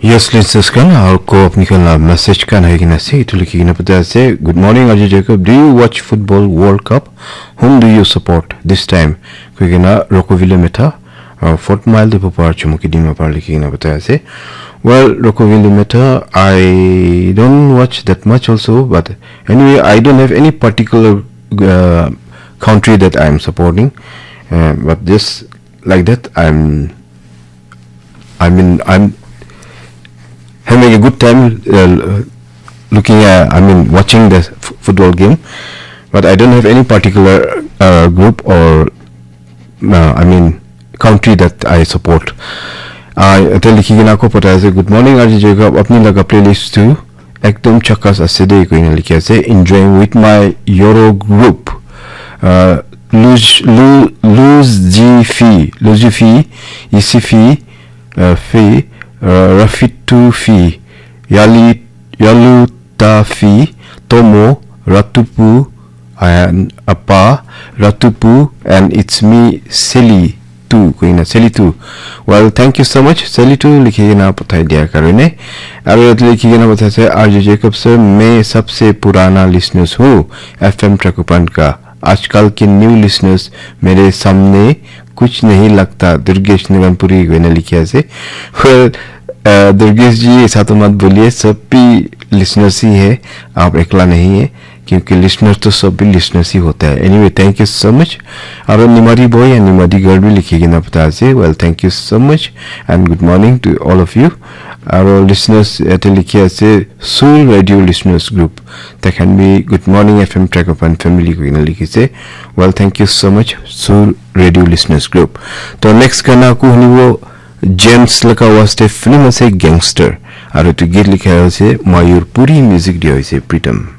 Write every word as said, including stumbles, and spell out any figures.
Yes, listeners khan, aru ko apni khan la message khan hai kena ase, itu likhi kena pata ase. "Good morning, Arju Jacob. Do you watch football World Cup? Whom do you support this time?" Koi kena Rokovile Metha, uh, Fort Mile de popar chumuki din mapar likhi kena pata ase. Well, Rokovile Metha, I don't watch that much also, but anyway, I don't have any particular uh, country that I am supporting. Uh, but just like that, I'm I mean, I'm having a good time uh, looking at, I mean, watching the f- football game, but I don't have any particular uh, group or, uh, I mean, country that I support. I tell Higina ko pata ase, "Good morning, R J Jacob. Apni laga playlist tu ekdom chakas ase de," koina likhi ase. "Enjoying with my Euro group. Uh, Luz, Lu, Luz G Fi, Luz G Fi, Isifi, uh, Fi, uh, Rafitu Fi, Yali, Yaluta Fi, Tomo, Ratupu, and Apa, Ratupu, and it's me, Seli." Tu koina Seli tu. Well, thank you so much, Seli tu likhi kena pathai dia karone. Aru yate likhi kena pathai ase, "R J Jacob sir, main sabse purana listeners hu F M Trakupan ka. Aajkal ke new listeners mere samne kuch nahi lagta, Durgesh Naganpuri," koina likhi ase. Well, uh, Durgesh ji, ऐसा तो मत बोलिए, सब भी listeners ही है, आप एकला नहीं है, क्योंकि listeners तो सब भी listeners ही होता है। Anyway, thank you so much. Aro Nimari boy and Nimari girl bi likhi kena pata ase. Well, thank you so much and good morning to all of you. Aro listeners, yate likhi ase Sur Radio Listeners Group. They can be Good Morning F M Track of One Family koina likhi ase. Well, thank you so much, Sur Radio Listeners Group. To next gana ko hunibo James laga waste film ase Gangster. Aro tu git likha ase Mayur Puri, music dia ase Pritam.